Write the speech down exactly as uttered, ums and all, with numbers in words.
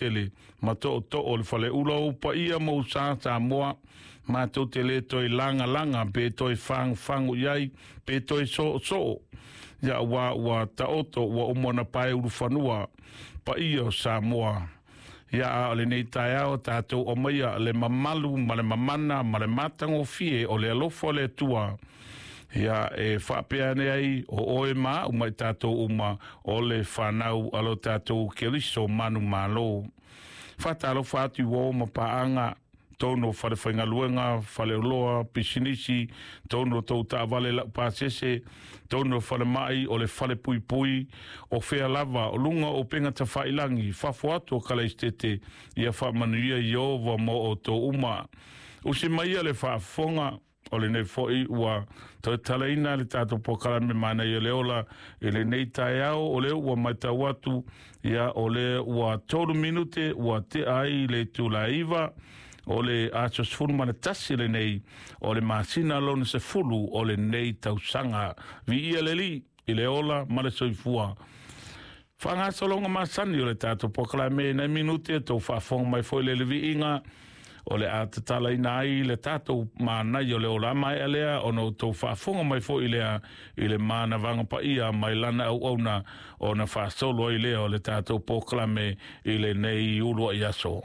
tele ma tootoo o le faleula o paia ma usa Samoa, matou te le toe lagalaga pe toe fagufagu i ai pe toe soosoo, ia ua ua taoto ua uma ona pae ulufanua paia o Samoa. Ia a o lenei taeao tatou aumaia le mamalu ma le mamana ma le matagofie o le alofa o le Atua, ia e faapea ane ai o oe ma au ma i tatou uma o le fanau a lo tatou Keriso manumalo. Faatalofa atu i uo ma paaga tonu o falefaigaluega, faleoloa, pisinisi, tonu o tou taavale laupasese, tonu o falemai o le falepuipui, o fea lava o luga o upega tafailagi, fafo atu o Kalaistete, ia faamanuia Ieova mo outou uma. Usi maia le faafofoga o lenei foi ua toe talaina le tatou polokalame Manaia o le Ola i lenei taeao. O lea ua matau atu, ia o lea ua tolu minute ua tea ai le itula e iva o le aso sefulu ma le tasi lenei o le masina lona sefulu o lenei tausaga. Viia le Alii i le ola ma le soifua. Faagasologa masani o le tatou polokalame nai minute tou faafofoga mai foi le leviiga o le a tatalaina ai le tatou Manaia o le Ola maea lea ona outou faafofoga mai foi lea i le manavaga paia mai lana auauna ona faasolo ai lea o le tatou polokalame i lenei uluai aso.